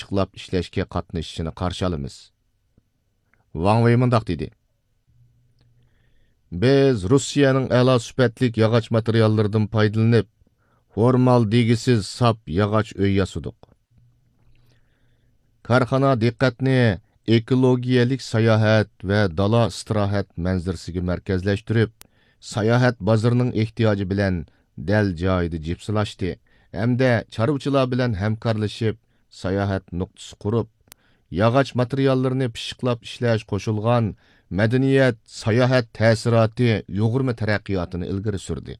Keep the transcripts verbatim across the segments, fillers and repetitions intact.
پىششىقلاپ ئىشلەشكە قاتنىشىشىنى قارشى ئالىمىز. ۋاڭ ۋېي مۇنداق دېدى: بىز روسىيەنىڭ ئەلا سۈپەتلىك ياغاچ ماتېرىياللىرىدىن پايدىلىنىپ، فورمالدېگىسىز ساپ ياغاچ ئۆي ياسىدۇق. كارخانا دىققەتنى ئېكولوگىيەلىك ساياھەت ۋە دالا ئىستىراھەت مەنزىرىسىگە مەركەزلەشتۈرۈپ، ساياھەت بازىرىنىڭ ئېھتىياجى بىلەن دەل جايىدا جىپسىلاشتى ھەمدە چارۋىچىلار بىلەن ھەمكارلىشىپ، ساياھەت نۇقتىسى قۇرۇپ، ياغاچ ماتېرىياللىرىنى پىششىقلاپ ئىشلەش قوشۇلغان مەدەنىيەت، ساياھەت تەسىراتى يۇغۇرما تەرەققىياتىنى ئىلگىرى سۈردى.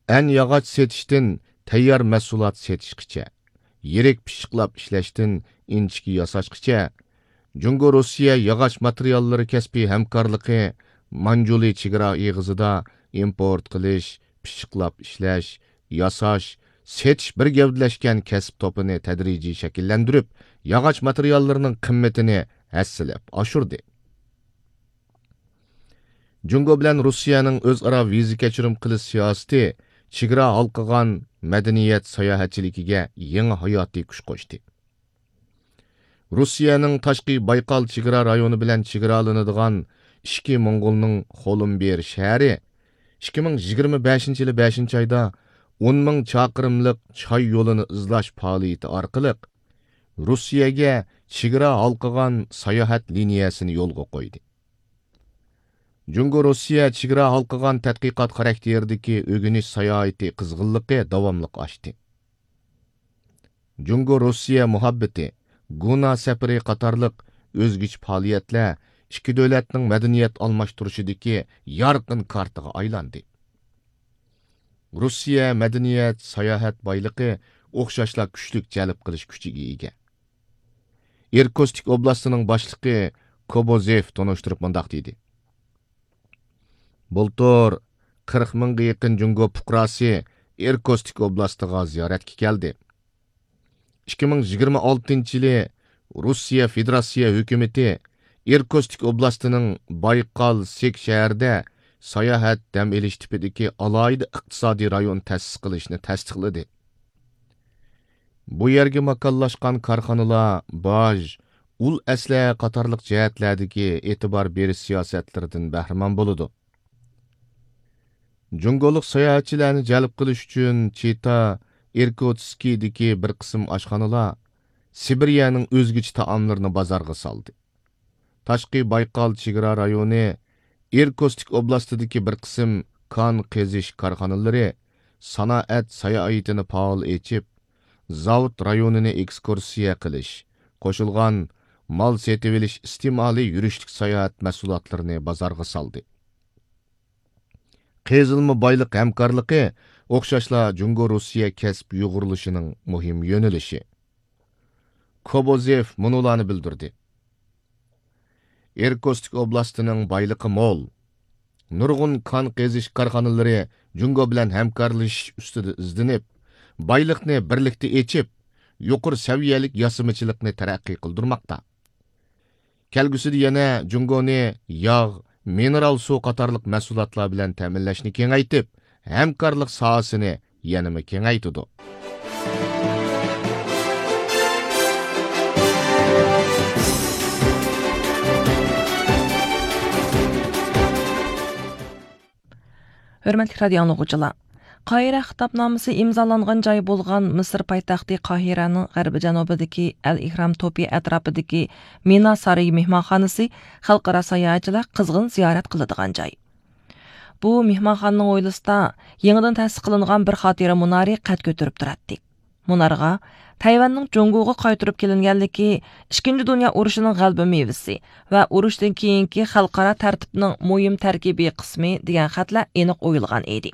ئەن ياغاچ سېتىشتىن تەييار مەھسۇلات سېتىشقىچە، يىرىك پىششىقلاپ ئىشلەشتىن ئىنچىكە ياساشقىچە، جۇڭگو روسىيە ياغاچ ماتېرىياللىرى كەسپىي ھەمكارلىقى مانجۇلى چېگرا ئېغىزىدا ئىمپورت قىلىش، پىششىقلاپ ئىشلەش، ياساش، سېتىش بىر گەۋدىلەشكەن كەسىپ توپىنى تەدرىجىي شەكىللەندۈرۈپ، ياغاچ ماتېرىياللىرىنىڭ قىممىتىنى ھەسسىلەپ ئاشۇردى. جۇڭگو بىلەن روسىيەنىڭ ئۆزئارا ۋىزا كەچۈرۈم قىلىش سىياسىتى چېگرا ھالقىغان مەدەنىيەت ساياھەتچىلىكىگە يېڭى ھاياتىي كۈچ قوشتى. روسىيەنىڭ تاشقى بايقال چېگرا رايونى بىلەن چېگرالىنىدىغان ئىچكى موڭغۇلنىڭ خولۇمبىر شەھىرى ئىككى مىڭ يىگىرمە بەشىنچى يىلى بەشىنچى ئايدا ئون مىڭ چاقىرىملىق چاي يولىنى ئىزلاش پائالىيىتى ئارقىلىق روسىيەگە چېگرا ھالقىغان ساياھەت لىنىيەسىنى يولغا قويدى. جۇڭگو روسىيە چېگرا ھالقىغان تەتقىقات خاراكتېرىدىكى ئۆگىنىش ساياھىتى قىزغىنلىقى داۋاملىق ئاشتى. جۇڭگو روسىيە مۇھەببىتى، گۇنا سەپىرى قاتارلىق ئۆزگىچە پائالىيەتلەر ئىككى دۆلەتنىڭ مەدەنىيەت ئالماشتۇرۇشىدىكى يارقىن كارتىغا ئايلاندى. روسىيە مەدەنىيەت، ساياھەت بايلىقى ئوخشاشلا كۈچلۈك جەلپ قىلىش كۈچىگە ئىگە. ئىركۇتسك ئوبلاستىنىڭ باشلىقى كوبوزېف تونۇشتۇرۇپ مۇنداق دېدى: بۇلتۇر قىرىق مىڭغا يېقىن جۇڭگو پۇقراسى ئىركۇتسك ئوبلاستىغا زىيارەتكە كەلدى. ئىككى مىڭ يىگىرمە ئالتىنچى يىلى روسىيە فېدېراتسىيە ھۆكۈمىتى ئىركۇتسك ئوبلاستىنىڭ بايقال سېك شەھىرىدە ساياھەت دەم ئېلىش تىپىدىكى ئالاھىدە ئىقتىسادىي رايون تەسىس قىلىشنى تەستىقلىدى. بۇ يەرگە ماكانلاشقان كارخانىلار باج، ئۇل ئەسلىھە قاتارلىق جەھەتلەردىكى ئېتىبار بېرىش سىياسەتلىرىدىن بەھرىمەن بولىدۇ. جۇڭگولۇق ساياھەتچىلەرنى جەلپ قىلىش ئۈچۈن چىتا ئىركۇتسكىدىكى بىر قىسىم ئاشخانىلار سىبىرىيەنىڭ ئۆزگىچە تائاملىرىنى بازارغا سالدى. تاشقى بايقال چېگرا رايونى ئىركۇتسك ئوبلاستىدىكى بىر قىسىم كان قېزىش كارخانىلىرى سانائەت ساياھىتىنى پائال ئېچىپ، زاۋۇت رايونىنى ئېكسكۇرسىيە قىلىش، قوشۇلغان مال سېتىۋېلىش ئىستېمالى يۈرۈشلۈك ساياھەت مەھسۇلاتلىرىنى بازارغا سالدى. قېزىلما بايلىق ھەمكارلىقى ئوخشاشلا جۇڭگو روسىيە كەسىپ يۇغۇرۇلۇشىنىڭ مۇھىم يۆنىلىشى. كوبوزېف مۇنۇلارنى بىلدۈردى: ئىركۇتسك ئوبلاستىنىڭ بايلىقى مول. نۇرغۇن كان قېزىش كارخانىلىرى جۇڭگو بىلەن ھەمكارلىشىش ئۈستىدە ئىزدىنىپ، بايلىقنى بىرلىكتە ئېچىپ، يۇقىرى سەۋىيەلىك ياسىمىچىلىقنى تەرەققىي قىلدۇرماقتا. كەلگۈسىدە يەنە جۇڭگونى ياغ، مىنېرال سۇ قاتارلىق مەھسۇلاتلار بىلەن تەمىنلەشنى كېڭەيتىپ، ھەمكارلىق ساھەسىنى يەنىمۇ كېڭەيتىدۇ. ھۆرمەتلىك رادىيو ئاڭلىغۇچىلار! قاھىرە خىتابنامىسى ئىمزالانغان جاي بولغان مىسىر پايتەختى قاھىرەنىڭ غەربىي جەنۇبىدىكى ئەل ئېھرام توپى ئەتراپىدىكى مىنا سارىيى مېھمانخانىسى خەلقئارا ساياھەتچىلەر قىزغىن زىيارەت قىلىدىغان جاي. بۇ مېھمانخانىنىڭ ھويلىسىدا يېڭىدىن تەسىس قىلىنغان بىر خاتىرە مۇنارى قەد كۆتۈرۈپ تۇراتتى. مۇنارغا تەيۋەننىڭ جۇڭگوغا قايتۇرۇپ كېلىنگەنلىكى، ئىككىنچى دۇنيا ئۇرۇشىنىڭ غەلىبە مېۋىسى ۋە ئۇرۇشتىن كېيىنكى خەلقئارا تەرتىپنىڭ مۇھىم تەركىبىي قىسمى دېگەن خەتلەر ئېنىق ئويۇلغان ئىدى.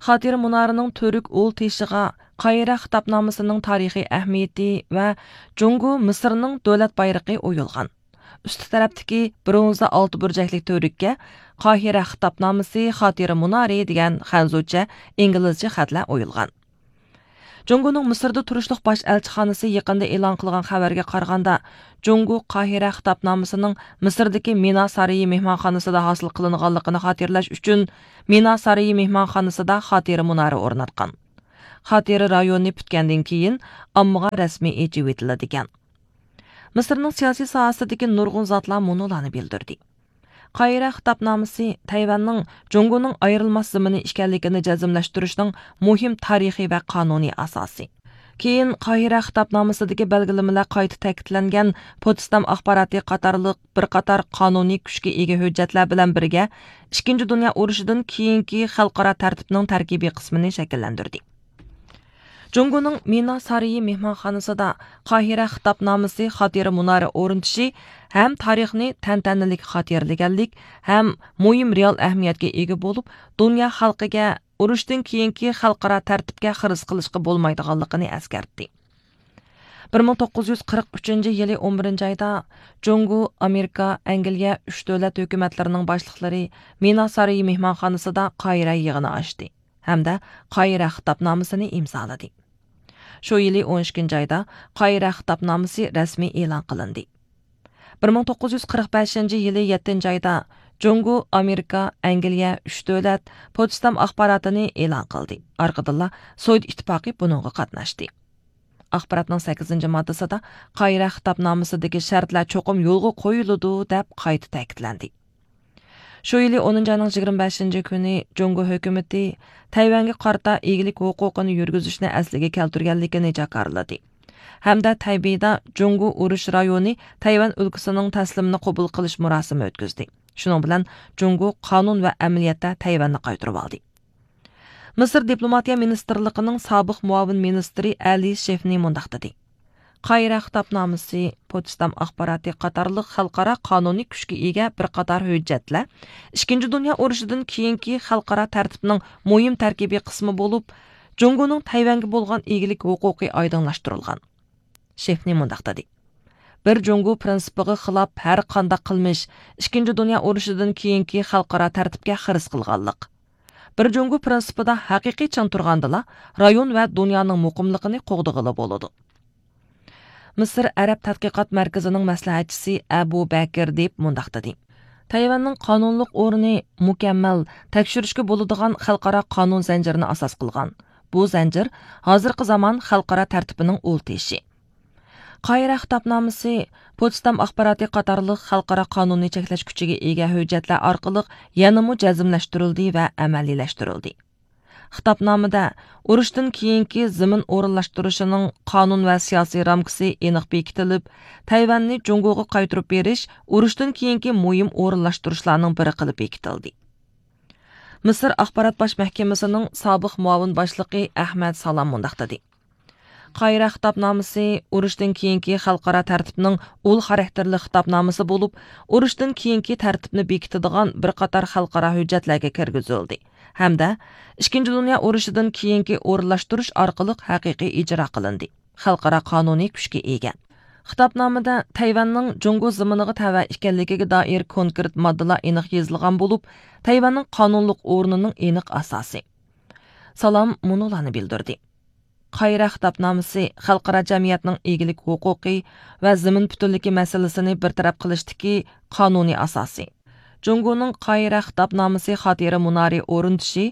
خاتىرە مۇنارىنىڭ تۈرك ئۇل تېشىغا قاھىرە خىتابنامىسىنىڭ تارىخىي ئەھمىيىتى ۋە جۇڭگو مىسىرنىڭ دۆلەت بايرىقى ئويۇلغان. ئۈستى تەرەپتىكى برونزا ئالتە بۇرجەكلىك تۈۋرۈككە قاھىرە خىتابنامىسى خاتىرە مۇنارى دېگەن خەنزۇچە، ئىنگلىزچە خەتلەر ئويۇلغان. جۇڭگونىڭ مىسىردا تۇرۇشلۇق باش ئەلچىخانىسى يېقىندا ئېلان قىلغان خەۋەرگە قارىغاندا، جۇڭگو قاھىرە خىتابنامىسىنىڭ مىسىردىكى مىنا سارىيى مېھمانخانىسىدا ھاسىل قىلىنغانلىقىنى خاتىرىلەش ئۈچۈن، مىنا سارىيى مېھمانخانىسىدا خاتىرە مۇنارى ئورناتقان. خاتىرە رايونى پۈتكەندىن كېيىن ئاممىغا رەسمىي ئېچىۋېتىلىدىكەن. مىسىرنىڭ سىياسىي ساھەسىدىكى نۇرغۇن زاتلار مۇنۇلارنى بىلدۈردى. قاھىرە خىتابنامىسى تەيۋەننىڭ جۇڭگونىڭ ئايرىلماس زېمىنى ئىكەنلىكىنى جەزملەشتۈرۈشنىڭ مۇھىم تارىخىي ۋە قانۇنىي ئاساسى. كېيىن قاھىرە خىتابنامىسىدىكى بەلگىلىمىلەر قايتا تەكىتلەنگەن پوتسدام ئاخباراتى قاتارلىق بىر قاتار قانۇنىي كۈچكە ئىگە ھۆججەتلەر بىلەن بىرگە، ئىككىنچى دۇنيا ئۇرۇشىدىن كېيىنكى خەلقئارا تەرتىپنىڭ تەركىبىي قىسمىنى شەكىللەندۈردى. جۇڭگونىڭ مىنا سارىيى مېھمانخانىسىدا قاھىرە خىتابنامىسى خاتىرە مۇنارى ئورنىتىشى ھەم تارىخنى تەنتەنىلىك خاتىرىلىگەنلىك، ھەم مۇھىم رېئال ئەھمىيەتكە ئىگە بولۇپ، دۇنيا خەلقىگە ئۇرۇشتىن كېيىنكى خەلقئارا تەرتىپكە خىرىس قىلىشقا بولمايدىغانلىقىنى ئەسكەرتتى. بىر مىڭ توققۇز يۈز قىرىق ئۈچىنچى يىلى ئون بىرىنچى ئايدا جۇڭگو، ئامېرىكا، ئەنگلىيە ئۈچ دۆلەت ھۆكۈمەتلىرىنىڭ باشلىقلىرى مىنا سارىيى مېھمانخانىسىدا قاھىرە يىغىنى ئاچتى ھەمدە قاھىرە خىتابنامىسىنى ئىمزالىدى. شۇ يىلى ئون ئىككىنچى ئايدا قاھىرە خىتابنامىسى رەسمىي ئېلان قىلىندى. بىر مىڭ توققۇز يۈز قىرىق بەشىنچى يىلى يەتتىنچى ئايدا جۇڭگو، ئامېرىكا، ئەنگلىيە ئۈچ دۆلەت پوتسدام ئاخباراتىنى ئېلان قىلدى. ئارقىدىنلا سوۋېت ئىتتىپاقى بۇنىڭغا قاتناشتى. ئاخباراتنىڭ سەككىزىنچى ماددىسىدا قاھىرە خىتابنامىسىدىكى شەرتلەر چوقۇم يولغا قويۇلىدۇ، دەپ قايتا تەكىتلەندى. شۇ يىلى ئونىنچى ئاينىڭ يىگىرمە بەشىنچى كۈنى جۇڭگو ھۆكۈمىتى تەيۋەنگە قارىتا ئىگىلىك ھوقۇقىنى يۈرگۈزۈشنى ئەسلىگە كەلتۈرگەنلىكىنى جاكارلىدى ھەمدە تەيبېيدا جۇڭگو ئۇرۇش رايونى تەيۋەن ئۆلكىسىنىڭ تەسلىمىنى قوبۇل قىلىش مۇراسىمى ئۆتكۈزدى. شۇنىڭ بىلەن جۇڭگو قانۇن ۋە ئەمەلىيەتتە تەيۋەننى قايتۇرۇۋالدى. مىسىر دىپلوماتىيە مىنىستىرلىقىنىڭ سابىق مۇئاۋىن مىنىستىرى ئەلى شېفنى مۇنداق دېدى: قاھىرە خىتابنامىسى پوتسدام ئاخباراتى قاتارلىق خەلقئارا قانۇنىي كۈچكە ئىگە بىر قاتار ھۆججەتلەر ئىككىنچى دۇنيا ئۇرۇشىدىن كېيىنكى خەلقئارا تەرتىپنىڭ مۇھىم تەركىبىي قىسمى بولۇپ، جۇڭگونىڭ تەيۋەنگە بولغان ئىگىلىك ھوقۇقى ئايدىڭلاشتۇرۇلغان. شېفنى مۇنداق دېدى: بىر جۇڭگو پىرىنسىپىغا خىلاپ ھەر قانداق قىلمىش ئىككىنچى دۇنيا ئۇرۇشىدىن كېيىنكى خەلقئارا تەرتىپكە خىرىس قىلغانلىق. بىر جۇڭگو پىرىنسىپىدا ھەقىقىي چىڭ تۇرغاندىلا، رايون ۋە دۇنيانىڭ مۇقىملىقىنى قوغدىغىلى بولىدۇ. مىسىر ئەرەب تەتقىقات مەركىزىنىڭ مەسلىھەتچىسى ئەبۇ بەكىر دېيىپ مۇنداق دېدى: تەيۋەننىڭ قانۇنلۇق ئورنى مۇكەممەل، تەكشۈرۈشكە بولىدىغان خەلقئارا قانۇن زەنجىرىنى ئاساس قىلغان. بۇ زەنجىر ھازىرقى زامان خەلقئارا تەرتىپىنىڭ ئۇل تېشى. قاھىرە خىتابنامىسى پوتسدام ئاخباراتى قاتارلىق خەلقئارا قانۇننى چەكلەش كۈچىگە ئىگە ھۆججەتلەر ئارقىلىق يەنىمۇ جەزملەشتۈرۈلدى ۋە ئەمەلىيلەشتۈرۈلدى. خىتابنامىدە ئۇرۇشتىن كېيىنكى زېمىن ئورۇنلاشتۇرۇشىنىڭ قانۇن ۋە سىياسىي رامكىسى ئېنىق بېكىتىلىپ، تەيۋەننى جۇڭگوغا قايتۇرۇپ بېرىش ئۇرۇشتىن كېيىنكى مۇھىم ئورۇنلاشتۇرۇشلارنىڭ بىرى قىلىپ بېكىتىلدى. مىسىر ئاخبارات باش مەھكىمىسىنىڭ سابىق مۇئاۋىن باشلىقى ئەھمەد سالام مۇنداق دېدى: قاھىرە خىتابنامىسى ئۇرۇشتىن كېيىنكى خەلقئارا تەرتىپنىڭ ئۇل خاراكتېرلىك خىتابنامىسى بولۇپ، ئۇرۇشتىن كېيىنكى تەرتىپنى بېكىتىدىغان بىر قاتار خەلقئارا ھۆججەتلەرگە كىرگۈزۈلدى ھەمدە ئىككىنچى دۇنيا ئۇرۇشىدىن كېيىنكى ئورۇنلاشتۇرۇش ئارقىلىق ھەقىقىي ئىجرا قىلىندى. خەلقئارا قانۇنىي كۈچكە ئىگە. خىتابنامىدە تەيۋەننىڭ جۇڭگو زېمىنىغا تەۋە ئىكەنلىكىگە دائىر كونكرېت ماددىلار ئېنىق يېزىلغان بولۇپ، تەيۋەننىڭ قانۇنلۇق ئورنىنىڭ ئېنىق ئاساسى. سالام مۇنۇلارنى بىلدۈردى: قاھىرە خىتابنامىسى خەلقئارا جەمئىيەتنىڭ ئىگىلىك ھوقۇقى ۋە زېمىن پۈتۈنلۈكى مەسىلىسىنى بىر تەرەپ قىلىشتىكى قانۇنىي ئاساسى. جۇڭگونىڭ قاھىرە خىتابنامىسى خاتىرە مۇنارى ئورنىتىشى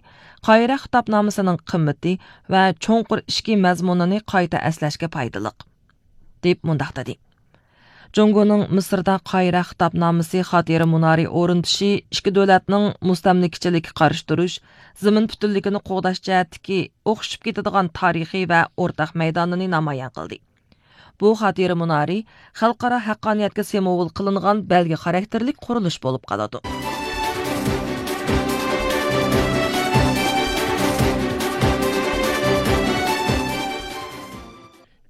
قاھىرە خىتابنامىسىنىڭ قىممىتى ۋە چوڭقۇر ئىچكى مەزمۇنىنى قايتا ئەسلەشكە پايدىلىق، دەپ مۇنداق دېدى: جۇڭگونىڭ مىسىردا قاھىرە خىتابنامىسى خاتىرە مۇنارى ئورنىتىشى ئىككى دۆلەتنىڭ مۇستەملىكىچىلىككە قارشى تۇرۇش، زېمىن پۈتۈنلۈكىنى قوغداش جەھەتتىكى ئوخشىشىپ كېتىدىغان تارىخىي ۋە ئورتاق مەيدانىنى نامايان قىلدى. بۇ خاتىرە مۇنارى خەلقئارا ھەققانىيەتكە سېموۋول قىلىنغان بەلگە خاراكتېرلىك قۇرۇلۇش بولۇپ قالىدۇ.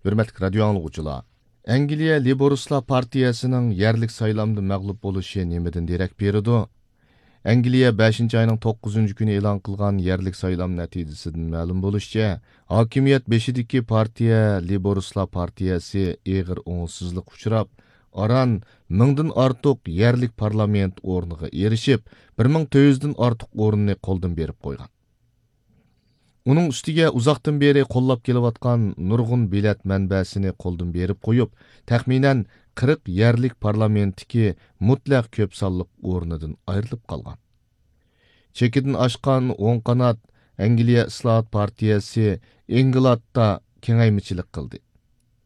ھۆرمەتلىك رادىيو ئاڭلىغۇچىلار! ئەنگلىيە لېيبورىستلار پارتىيەسىنىڭ يەرلىك سايلامدا مەغلۇپ بولۇشى نېمىدىن دېرەك بېرىدۇ؟ ئەنگلىيە بەشىنچى ئاينىڭ توققۇزىنچى كۈنى ئېلان قىلغان يەرلىك سايلام نەتىجىسىدىن مەلۇم بولۇشىچە، ھاكىمىيەت بېشىدىكى پارتىيە لېيبورىستلار پارتىيەسى ئېغىر ئوڭۇشسىزلىققا ئۇچراپ، ئاران مىڭدىن ئارتۇق يەرلىك پارلامېنت ئورنىغا ئېرىشىپ، بىر مىڭ تۆت يۈزدىن ئارتۇق ئورۇننى قولدىن بېرىپ قويغان. ئۇنىڭ ئۈستىگە ئۇزاقتىن بېرى قوللاپ كېلىۋاتقان نۇرغۇن بېلەت مەنبەسىنى قولدىن بېرىپ قويۇپ، تەخمىنەن قىرىق يەرلىك پارلامېنتتىكى مۇتلەق كۆپ سانلىق ئورنىدىن ئايرىلىپ قالغان. چېكىدىن ئاشقان ئوڭ قانات ئەنگلىيە ئىسلاھات پارتىيەسى ئىنگلادتا كېڭەيمىچىلىك قىلدى.